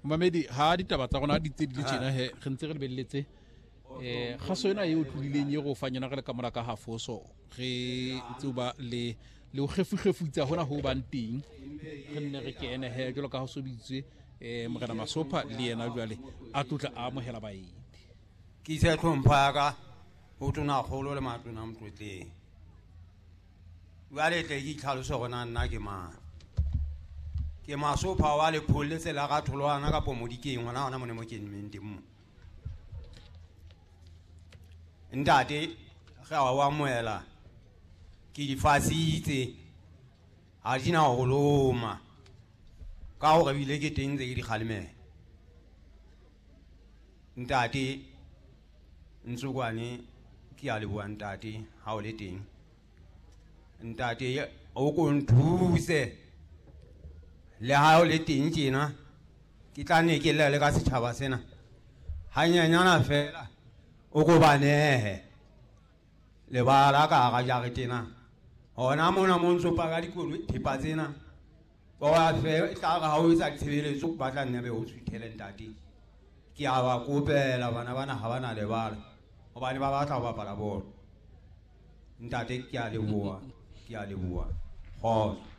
Momamedi, ha ditaba tsa rona di tse di le tjena he, re ntse re lebelletse kgaso ena e o tlolileng e re o fang yona re le ka mora ka hafoso, re ntse ba le le ho kgefukgefutsa hona ho bang teng, re nne re kene he jwalo ka ha so bitswe Morena Masopha le yena jwale a tlotla a amohela baeti. Ke ise tlhompho ya ka ho tonakgolo le matona motlotleng. Jwale tle ke itlhalose gore na nna ke mang. Ke Masopha wa lepholletse la ga Tholwana kapo Modikeng, gona gona mo ne mo ke nneng teng mo. Ntate ge a o amohela ke di fasitse, ga di na go loma ka gore ebile ke teng tse ke di kgalemela. Ntate Ntsokwane, ke a leboha ntate ha o le teng. Ntate o ko nthuse le ha o le teng tjena, ke tla ne ke lla le ka setjhaba sena hanyenyana fela, o ko ba nehe lebala ka hara jarete ena. Hona mona mo ntso paka dikoloi thepa tsena, ba wa fe tla re ha o etsa ditshebeletso ba tla nne be o suthele ntate. Ke a ba kopela bana bana ha ba na lebala hobane ba batla ho bapala bolo. Ntate ke a leboha, ke a leboha. Kgotso.